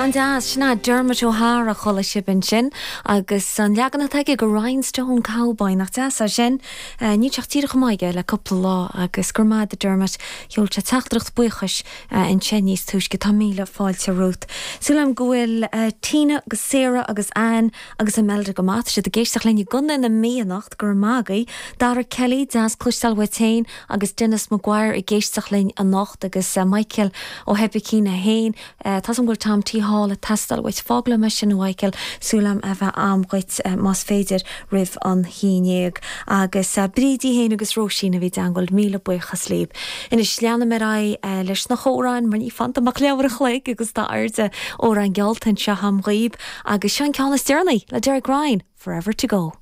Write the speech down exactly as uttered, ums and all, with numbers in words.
An-deas sin é Dermot O'Hara chuala sibh ansin agus an leagan atá aige de Rhinestone Cowboy nach deas é sin ní teach tíre chumáige le cúpla lá agus gur maith Dermot sheol sé teachtaireacht buíochais ansin níos túisce tá míle fáilte romhat. Súil go bhfuil Tina agus Sarah agus Anne agus Imelda go maith siad ag éisteacht linn i gContae na Mí anocht gur magaí, Dara Kelly deas cloisteáil uait féin agus Dennis Maguire ag éisteacht linn anocht agus Michael ó Hebicín a haon Tá an bhfuil Tom T Hall teastáil uait fágla me sin Michael súlam a bheith am dhuit más féidir roimh an hínéag agus Brídí héin agus Róisín a bhí deangáil míle buíochas libh. Anois leanaim ar aghaidh leis na hamhráin mar ní fanta ach leathuair an chloig agus tá amhrán geallta anseo agam dhaoibh agus seo an ceann is deireanaí le Derek Ryan, Forever to Go.